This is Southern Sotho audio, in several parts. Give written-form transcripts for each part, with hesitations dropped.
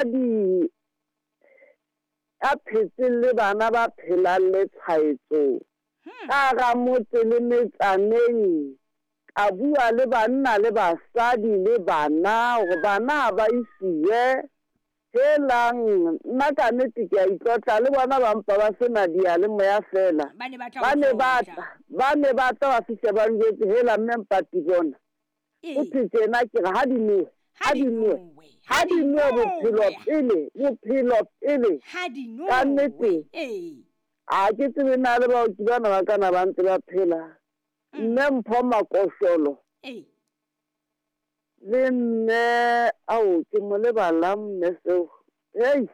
Mosadi ya phetseng le bana ba phelang le tshwaetso ka hara motse le metsaneng, ka bua le banna le basadi le bana hore bana ha ba isiwe. Helang, nna ka nnete ke a itlotla le bona ba mpa ba se na diyalemoya feela. Ba ne ba tla Ba o ne ba tlotla. tla, ba ne ba tla ba fihla ba njwetse, hela mme Mpati bona. Go thwe tjena ke re ha di nowe, ha di nowe, ha di nowe bophelo pele, bophelo pele. Ka nnete ha ke tsebe na le baoki bana ba kana ba ntse ba phela. Mme Mpho Makosholo le mme ao ke mo lebalang mme seo. Hei.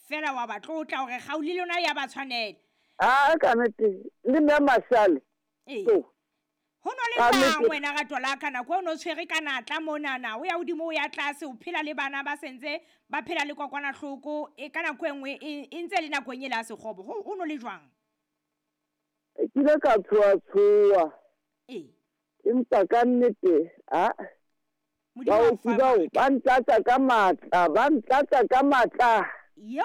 Fela wa ba tlotla hore kgau le lona ya ba tshwanela. A ka nnete le mme Mashale. So. Ho no le jwang wena rato la ka nako o no tshwere ka natla monana, o ya hodimo o ya tlase, o phela le bana ba sentse ba phela le kokwanahloko e ka nako e nngwe e ntse le nakong e la sekgobo, ho no le jwang? Ke ile ka tshoa-tshoa. Empa ka nnete, a baoki bao ba ntlatsa ka matla, ba ntlatsa ka matla. Yo.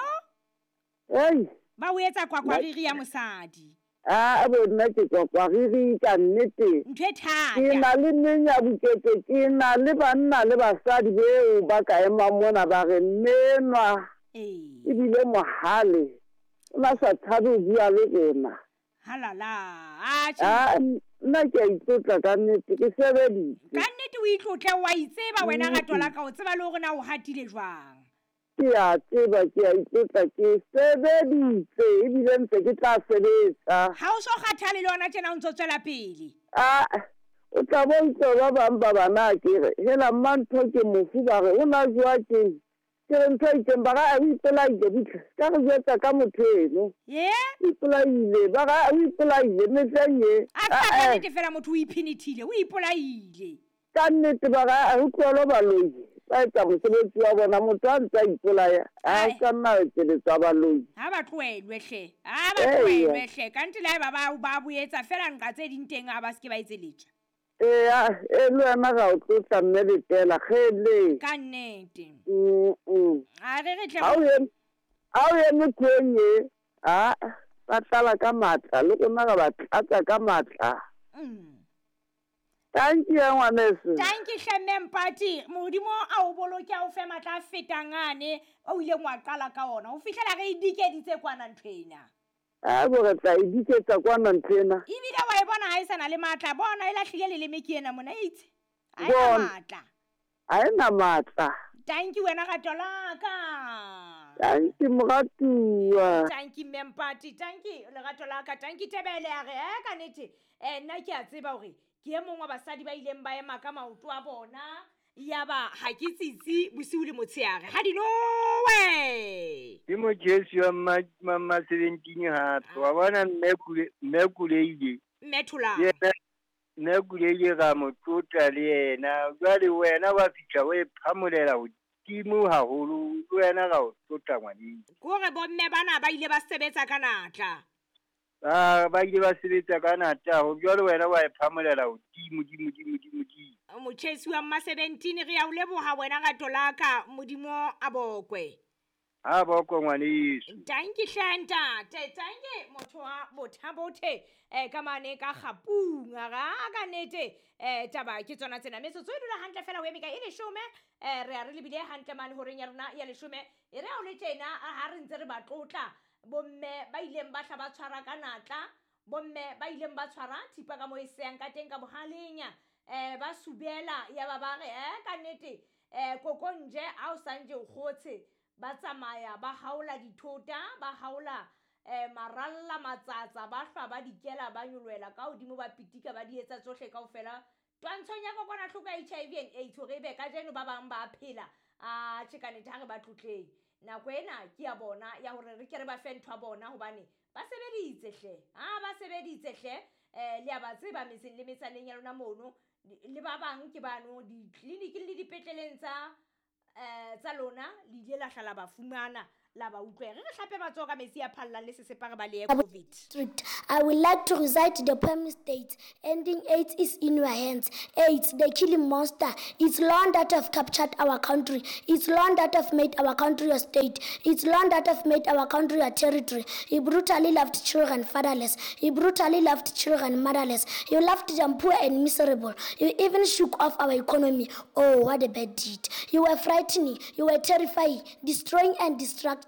Ei. Ba o etsa kwakwariri ya mosadi. A bo nna ke kwakwariri ka nnete. Ntho e thata. Ke na le menyabuketse, ke na le banna le basadi beo ba ka emang mona ba re mme enwa ebile mohale, o na sa tshabe ho bua le rona. Halala, atjhe. A nna ke a itlotla ka nnete, ke sebeditse. Ka nnete o itlotle, wa itseba wena rato la ka, o tseba le hore na o hatile jwang. Ke a tseba, ke a itlotla, ke sebeditse ebile ntse ke tla sebetsa. Ha o so kgathale le hona tjena o ntso tswela pele. A o tla bo utlwa ba bang ba bana ke re hela mmantho ke mofu ba re o na jowa keng, ke re ntho e itseng ba re o ipolaile butle ka re jwetsa ka motho eno. O ipolaile ba re o ipolaile mehleng ye. A ka nnete fela motho o iphenethile, o ipolaile. Ka nnete ba re o tlohele baloi ba etsa mosebetsi wa bona, motho a ntse a ipolaya a ka nna a etseletswa baloi. Ha ba tlohelwe hle, ha ba tlohelwe hle, ka nnete le haeba ba ba boetsa fela nqa tse ding teng ha ba se ke ba etseletswa. Eya, e le wena ga o tlotla mme letela kgele. Ka nnete. A re re tle. Ha o eme kgweng e, a ba tlala ka matla le rona re ba tlatsa ka matla. Thank you ngwaneso. Thank you hle mme Mpati, Modimo a o boloke a o fe matla a fetang ane o ileng wa qala ka ona ho fihlela re e dikeditse kwana ntho ena. A bo re tla e diketsa kwana ntho ena. Ebile wa e bona ha e sana le matla, bona e lahlile leleme ke ena mona itse. Ha e na matla. Ha e na matla. Thank you wena rato la ka. Thank you moratuwa. Thank you mme Mpati, thank you lerato la ka, thank you Tebele a re ka nnete nna ke a tseba hore ke e mong wa basadi ba ileng ba ema ka maoto a bona ya ba ha ke tsitsi bosiu le motshehare ha di nowe. Ke motjhesi wa mma 17 hape wa bona mme Kuleile. Mme Tholang. Yena mme Kuleile ra mo tlotla le yena, jwale wena wa fihla o e phamolela hodimo haholo, le wena ra o tlotla ngwaneng. Ke hore bomme bana ba ile ba sebetsa ka natla. Ba ile ba sebetsa ka natla, ho jwale wena wa e phamolela hodimo, dimo, dimo, dimo, dimo. Motjhesi wa mma 17 re ya o leboha wena rato la ka, Modimo a bokwe. Ha bokwe ngwaneso. Thank you hle ntate, thank you motho wa bothabothe ka mane ka kgapung ra ka nnete taba ke tsona tsena. Metsotso e dula hantle fela ho eme ka e leshome, re a re lebile hantle mane horeng ya rona ya leshome. E re ha o le tjena ha re ntse re ba tlotla bomme ba ileng ba hla ba tshwara ka natla, bomme ba ileng ba tshwara thipa ka mo e seyang ka teng ka bohaleng, ba subela ya ba ba re ka nnete kokonje ha o sanje o kgotshe, ba tsamaya ba haola dithota, ba haola maralla matsatsa, ba hlwa ba dikela ba nyolohela ka hodimo, ba pitika ba di etsa tsohle kaofela twantshong ya kokwanahloko ya HIV and AIDS hore ebe kajeno ba bang ba phela. A tjhe ka nnete ha re ba tlotleng. Nako ena ke ya bona ya hore re ke re ba fe ntho ya bona hobane ba sebeditse hle. Ha ba sebeditse hle, le a ba tseba metseng le metsaneng ya lona mono, le ba bang ke bano ditleliniking le dipetleleng tsa tsa lona le ile la hla la ba fumana. la ba utlwe re re hlape matsoho ka metsi a phallang le sesepa re balehe COVID. District. I would like to recite the poem states, ending AIDS is in your hands. AIDS, the killing monster. It's long that have captured our country. It's long that have made our country a state. It's long that have made our country a territory. He brutally left children fatherless. He brutally left children motherless. He left them poor and miserable. He even shook off our economy. Oh, what a bad deed. You were frightening. You were terrifying, destroying and destructive.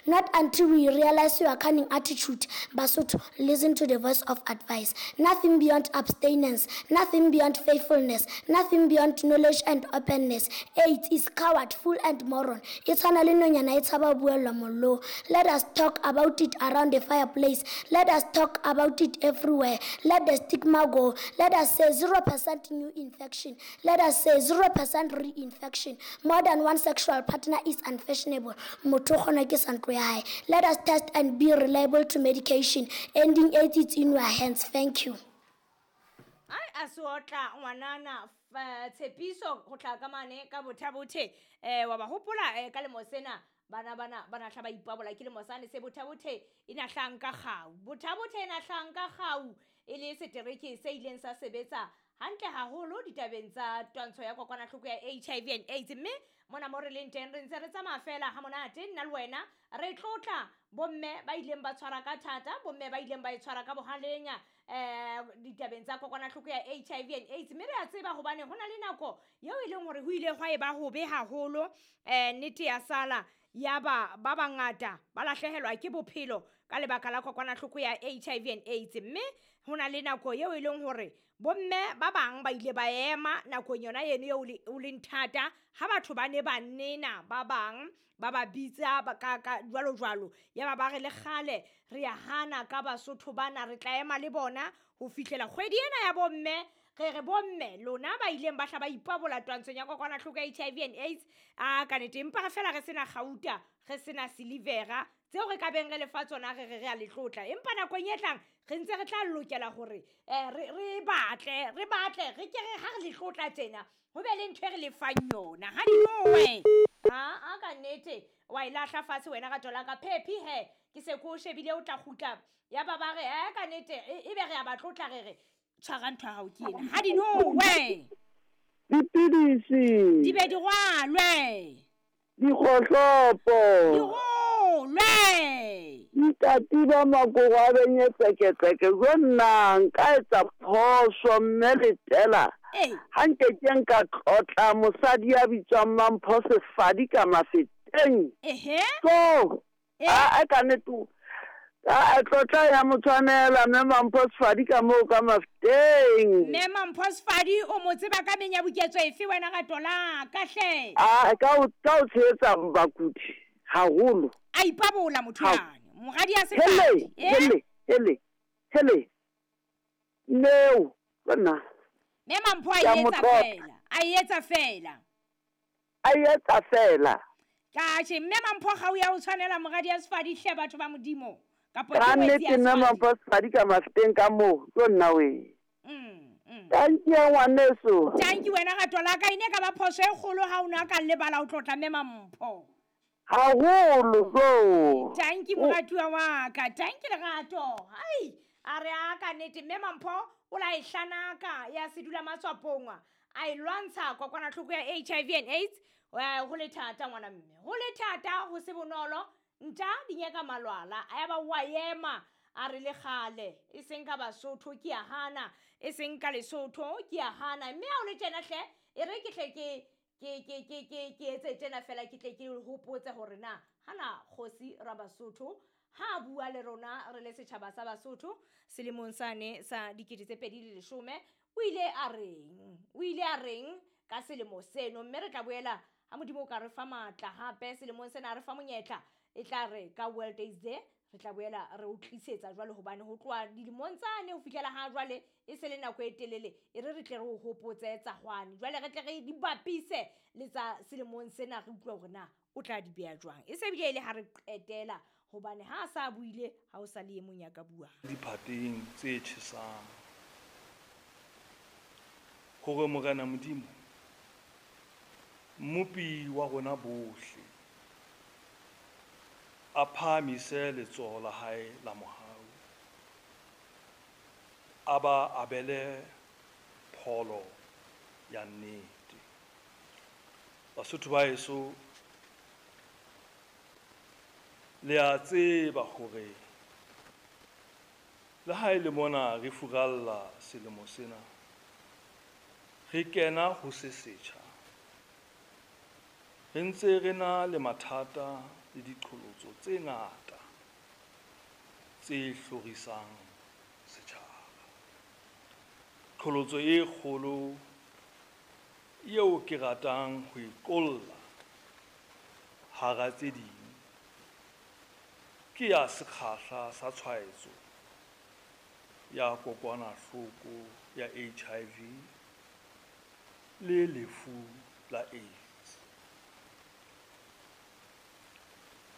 Not until we realize your cunning attitude. Basotho, listen to the voice of advice. Nothing beyond abstinence, nothing beyond faithfulness, nothing beyond knowledge and openness. AIDS is coward, fool and moron. E tshwana le nonyana e tshaba ho buellwa mollong. Let us talk about it around the fireplace. Let us talk about it everywhere. Let the stigma go. Let us say 0% new infection. Let us say 0% reinfection. More than one sexual partner is unfashionable. Motho o kgonwa ke sa ntlo ya hae. Let us test and be reliable to medication. Ending AIDS is in your hands. Thank you. Ai a se otla ngwanana tshepiso ho tla ka mane ka Botha-Bothe wa ba hopola ka lemo sena bana bana bana hla ba ipabola ke lemo sane se Botha-Bothe e na hlanka kgau. Botha-Bothe e na hlanka kgau e le setereke se ileng sa sebetsa hantle haholo ditabeng tsa twantsho ya kokwanahloko ya HIV and AIDS. Mme mona mo re leng teng re ntse re tsamaya fela ha monate nna le wena re tlotla bomme ba ileng ba tshwara ka thata, bomme ba ileng ba e tshwara ka bohaleng ditabeng tsa kokwanahloko ya HIV and AIDS. Mme re a tseba hobane ho na le nako eo e leng hore ho ile hwa e ba hobe haholo, nnete ya sala ya ba ba bangata ba lahlehelwa ke bophelo ka lebaka la kokwanahloko ya HIV and AIDS. Mme ho na le nako eo e leng hore bomme ba bang ba ile ba ema nakong yona eno eo o leng thata ha batho ba ne ba nena ba bang ba ba bitsa ba ka ka jwalo jwalo, ya ba ba re le kgale re ya hana ka Basotho bana, re tla ema le bona ho fihlela kgwedi ena ya bomme. Re re bomme lona ba ileng ba hla ba ipabola twantshong ya kokwanahloko ya HIV and AIDS, a ka nnete empa re fela re sena kgauta, re sena silivera tseo re ka beng re lefa tsona, re re re a le tlotla. Empa nakong e tlang re ntse re tla lokela hore re batle re batle re ke re ha re le tlotla tjena ho be le ntho e re lefang yona. Ha di nowe ha a ka nnete wa e lahla fatshe wena ka tola ka phephi he ke se ko shebile o tla kgutla ya ba ba re ka nnete e be re a ba tlotla re re tshwara ntho ya hao ke ena. Ha di nowe dipidisi di be di rwalwe dikgohlopo di rolwe dikatiba makoko a benye tseketseke. Jo nna nka etsa phoso mme letela ha nke ke nka tlotla mosadi ya bitswang Mampho Sefadi ka Mafeteng. So a ka nnete a tlotla ya mo tshwanela mme Mampho Sefadi ka moo ka Mafeteng. Mme Mampho Sefadi o mo tseba ka menyabuketso efe wena ka tola ka hle? A ka o tshehetsa bakudi haholo. A ipabola motho yane moradi ya Sefadi. Hele hele hele neo bona Mme Mampho a etsa fela, a etsa fela, a etsa fela. Ka tjhe mme Mampho ga o ya o tshwanela moradi ya Sefadi hle batho ba Modimo. Kapo ke nnete mme Mampho Sefadi ka Mafeteng ka moo jo nna we. Thank you ngwaneso. Thank you wena ka tola ka ine ka ba phoso e kgolo ha o na ka lebala o tlotla mme Mampho. Haholo so. Thank you moratuwa wa ka. Thank you lerato. Ai a re a ka nnete mme Mampho o la e hlanaka ya sedula matswapong a e lwantsha kokwanahloko ya HIV and AIDS. Ho le thata ngwana mme, ho le thata ho se bonolo nta di nyaka malwala a ya ba wa ema a re le kgale e seng ka Basotho ke a hana, e seng ka Lesotho ke a hana. Mme ha o le tjena hle e re ke hle ke ke ke ke ke ke etse tjena fela ke tle ke hopotse hore na hana kgosi ra Basotho ha bua le rona re le setjhaba sa Basotho selemong sane sa 2010 o ile a reng, o ile a reng ka selemo seno. Mme re tla boela ha Modimo o ka re fa matla hape selemong sena re fa monyetla e tla re ka World AIDS Day re tla boela re o tlisetsa jwale, hobane ho tloha dilemong tsane ho fihlela ha jwale e se le nako e telele e re re tle re o hopotse tsa hwane. Jwale re tle re di bapise le tsa selemong sena re utlwe hore na o tla di beha jwang. E se bile e le ha re qetela hobane ha a sa buile ha o sa le e mong ya ka buang. Diphateng tse tjhesang hore Morena Modimo Mmopi wa rona bohle a phahamise letsoho la hae la mohau, a ba abele pholo ya nnete. Basotho ba heso, le a tseba hore le ha e le mona re furalla selemo sena, re kena ho se setjha, re ntse re na le mathata le diqholotso tse ngata tse hlorisang setjhaba. Qholotso e kgolo eo ke ratang ho e qolla hara tse ding ke ya sekgahla sa tshwaetso ya kokwanahloko ya HIV le lefu la AIDS.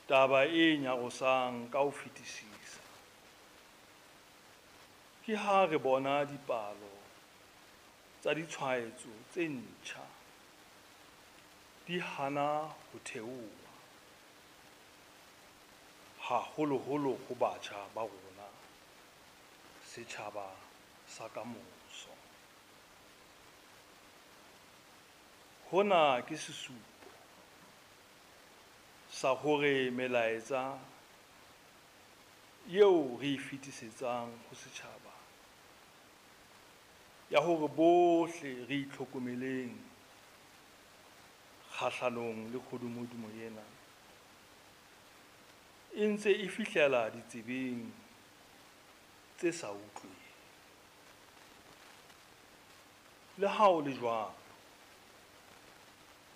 Taba e nyarosang ka ho fetisisa ke ha re bona dipalo tsa ditshwaetso tse ntjha di hana ho theoha, haholoholo ho batjha ba rona, setjhaba sa kamoso. Hona ke sesupo sa hore melaetsa eo re e fetisetsang ho setjhaba ya hore bohle re itlhokomeleng kgahlanong le kgodumodumo ena e ntse e fihlela ditsebeng tse sa utlweng. Le ha ho le jwalo,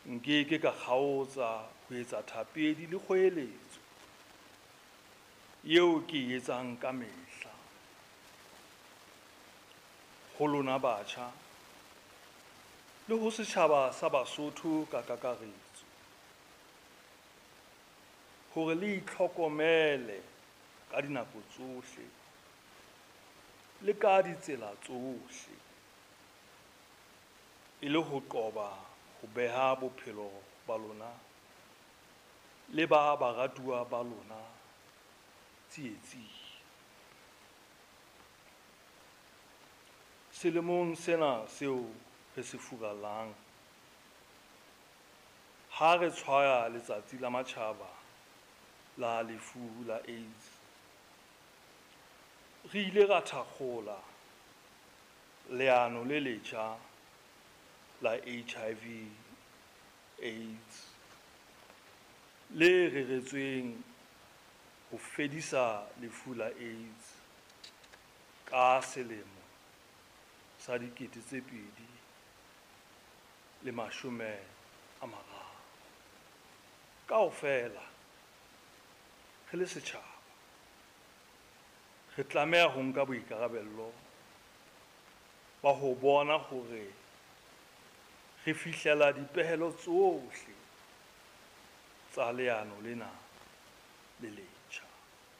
nke ke ka kgaotsa ho etsa thapedi le kgoeletso eo ke e etsang ka mehla ho lona batjha le ho setjhaba sa Basotho ka kakaretso hore le itlhokomele ka dinako tsohle le ka ditsela tsohle e le ho qoba ho beha bophelo ba lona le ba baratuwa ba lona tsietsing. Selemong sena seo re se furallang, ha re tshwaya Letsatsi la Matjhaba la Lefu la AIDS, re ile ra thakgola leano le letjha la HIV AIDS le reretsweng ho fedisa lefu la AIDS ka selemo sa 2030. Kaofela re le setjhaba re tlameha ho nka boikarabello ba ho bona hore re fihlela dipehelo tsohle tsa leano lena le letjha.